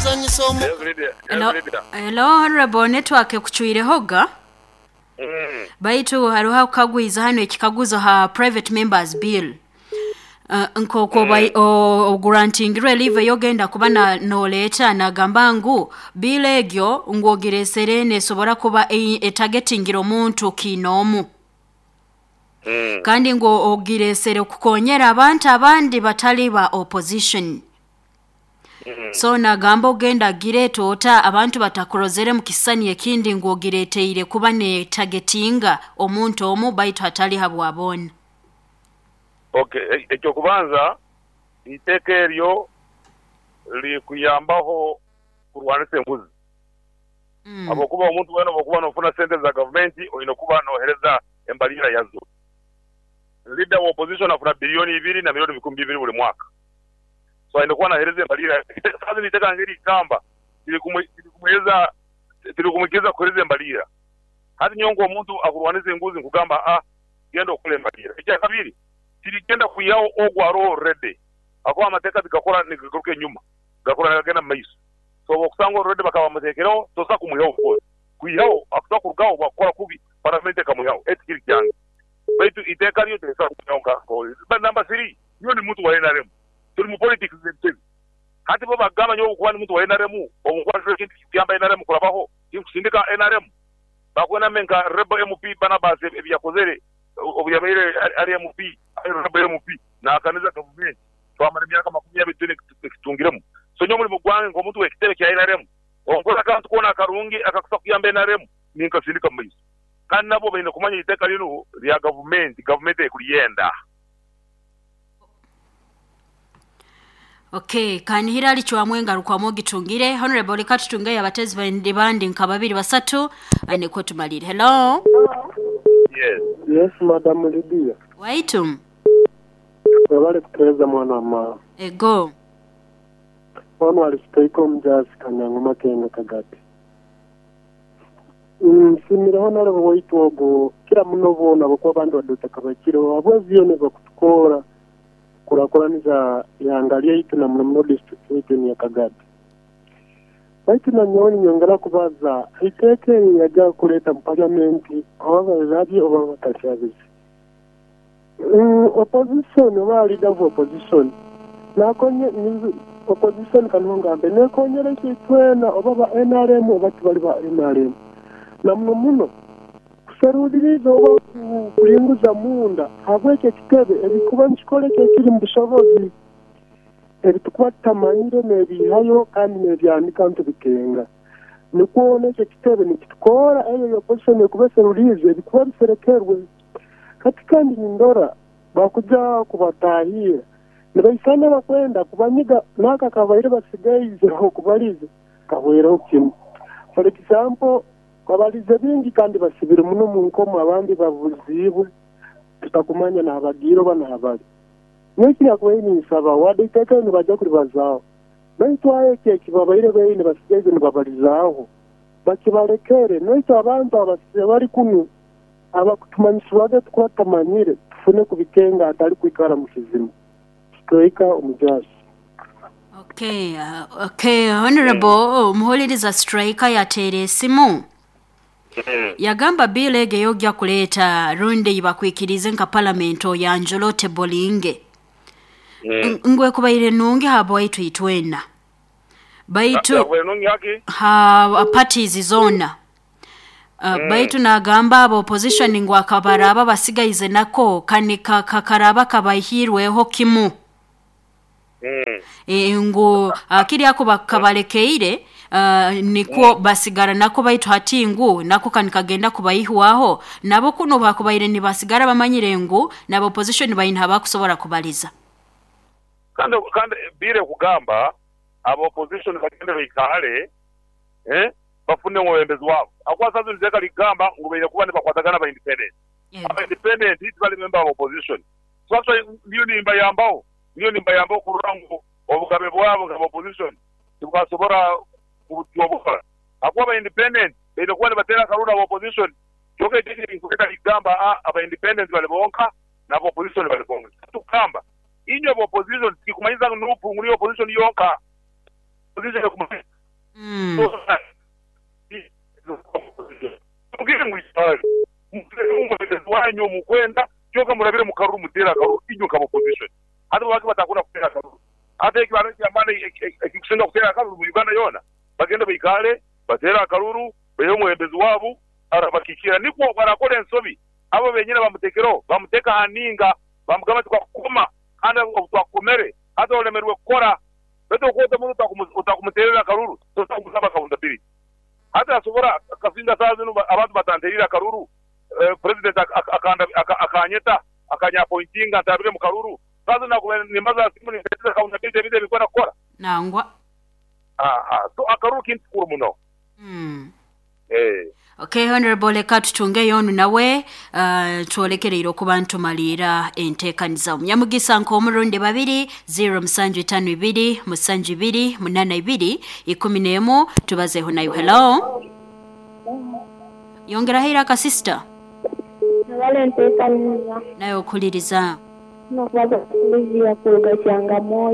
Okuzanyisa omu. Yes Lydia, yes Hello, Lydia. hello Honorable, network ekucwirehoga. Baitu haroho akukagwiza hanu ekikaguzo ha private members bill. Nk'oku ogurantingirwe leave ey'ogenda kuba noleeta, nagamba ngu bill egyo ngu ogireesere neesobora kuba etagetingire omuntu kiinoomu. Kandi ngu ogireesere kukonyera abantu abandi batali ba opposition. So nagamba ogenda gireeta ota abantu batakurozere mu kisisani ekindi ngu ogireeteire kuba neetagetinga omuntu omu baitu hatali habwa boona. Ok, eky'okubanza eiteeka eryo liri kuyambaho kurwanisa enguzi. Habwokuba omuntu weena obwokuba nofuna sente za gavumenti oine kuba nohereza embalirira yazo. Leader wa opposition afuna billion ibiri na million bikumi bibiri buli mwaka. So aine kuba nahereza embalirira. Saha zinu eiteeka ngerigamba tiri tirikumwikiriza kuhereza embalirira. Hati nyowe nk'omuntu akurwanisa enguzi nkugamba a genda okole embalirira. Ekyakabiri, tirigenda kwihaho ogwo aroho already ahakuba amateeka tigakora nigagaruka enyuma, gakora nigagenda mu maiso. So obwokusanga already bakaba bamutekereho tosobola kumwihaho of course. Kwihaho akusobola kurugaho bwakukora kubi paramenti ekamwihaho. Eki tikiri kyange. Baitu iteeka ryo terisobola kumwihaho nka But number three, nyowe ndi muntu wa nrm. Turi mu politics z'ebitebe. Hati bo bagamba nyowe obu nkuba ndi muntu wa nrm, obu nkuba ndora ekintu ekikuyamba nrm kurabaho, tinkusindika nrm? Bakwenda mbe nka Rebel MP Barnabas ebi yakozere obu yabaire ari MP, ari Rebel MP nahakaniza gavumenti twamara emyaka makumi abiri twine ekitutungiremu. So nyowe omurimo gwange nk'omuntu w'ekitebe kya nrm, obu nkora akantu koona akarungi akakusa kuyamba nrm, ninkasindika mu maiso. Kandi nabo baine kumanya eiteeka linu lya gavumenti, gavumenti erikuryenda. Okay, kanihira alicwamu engarukwamu ogitungire. Honorable leka tutungeyo abatezi bandi bandi nka babiri basatu nikwo tumalire. Hello. Yes. Yes madam Lydia. Waitu. Webale kutuhereza mwana wa maama. Ego. Onu ali Sitoiko omujaasi Kanyangoma Kenga Kagati. Nsiimire Honorable waitu ogu kira muno boona habwokuba abandi wadde otakabakireho habwezi yoona ebakutukoora kurakuraniza ihanga lyaitu na muno muno district yaitu enu ya Kagadi. Baitu nanyowe ninyongera kubaza eiteeka eri yaja kuleeta mu parliament oba balirabye oba batalirabize. Opposition oba leader of opposition nakonye opposition kaniho ngambe nekonyera itwe itwena oba ba nrm oba tibali ba nrm na muno muno kuseruliriza oba kulinguza munda habwekyo ekitebe ebikuba nikikora ekyo ekiri mu bushobozi ebitukuba tutamanyire nebiihayo kandi nebyanika nitubikenga. Nikwo nekyo ekitebe nikitukoora eyo opposition ekuba eseruliize ebikuba biserekerwe. Hati kandi nindora bakuja kubatahirra nibaisana abakwenda kubanyiga n'aka akabaire basigaize okubaliza kahweireho kimu. For example, babalize bingi kandi basibire muno omu nkomo abandi babuziibwe tutakumanya nahabagiire oba nahabali. Nyowe ekinyakubaire ninsaba wadde eiteeka eri nibaija kuribazaaho baitu aho eki ekibabaire baine basigaize nibabalizaaho bakibalekere naitwe abantu abali kunu abakutumanyisibwaga tukuba tutamanyire tufune kubikenga hatali kwikara mu kizima. Striker omujaasi. Okay, okay, Honorable omuhuliriza Striker yateera esimu yagamba bill ego ey'ojja kuleeta rundi ei bakwikiriize nka parliament oyanjule otebolinge ngu ekubaire nungi habwaitu itwena baitu Yakubaire nungi haki? ha parties zoona. Baitu nagamba aba opposition ngu akabaraaba basigaize nako kani kakaraaba kabaihirweho kimu. Ngu kiri ako bakabalekeire nikwo basigara nako baitu hati ngu nako kani kagenda kubaihwaho nabo kunu bakubaire nibasigara bamanyire ngu naba opposition baine habakusobora kubaliza. Kandi kandi bill ekugamba aba opposition bagende baikaale bafune omwebembezi waabo. Ahakuba saaha zinu eiteeka likugamba ngu baine kuba nibakwatagana aba independent. Aba independent tibali member ba opposition. So actually ndiyo nimbayambaho, ndiyo nimbayambaho kurora ngu obugabe bwabo nk'aba opposition tibwasobora kubutyobora. Ahakuba aba independent baine kuba nibateera akaruuru aba opposition. Kyonka eiteeka eri likugamba aba independent bali bonka n'aba opposition bali bonka. Tukugamba inywe aba opposition tikikumanyisa ngu nup ngu niyo opposition yonka. Opposition ekumanyisa. Inywe mukwenda kyonka murabire mu karuru, muteere akaruru inywe nk'aba opposition. Hati lwaki batakunda kuteera akaruru? Hati ekibaro eky'amaani ekikusinga kuteera akaruru mu Uganda yoona, bagende baikaale bateere akaruru, baihe omwebembezi waabu arabakiikirra, nikwo obu arakora ensobi abo benyini abamuteekereho bamuteeke aha ninga, bamugamba nti twakukoma kandi obu twakukomere hati olemerwe kukora. Baitu okwota omuntu otakumuteerera akaruru, tosobola kumusaba accountability. Hati asobora kasinga saaha zinu abantu batanteriire akaruru, president akanyeta akanyapointinga ntarabire mu karuru, saaha zinu nakubaire nimbaza ha simu nimpereza accountability ebintu ebinkwenda kukora. Nangwa. Aha, so akaruru kintu kikuru muno. Okay, Honorable, leka tutungeyo onu nawe, twolekereire okuba ntumaliira enteekaniza. Omunyamugisa nk'omurundi babiri 0752 72 82 11, tubazeeho nayo. Hello, yongeraho eiraka sister. Webale enteekaniza. Nawe okuhuliriza. Nokubaza Sylvia kuruga Kyangamwoyo.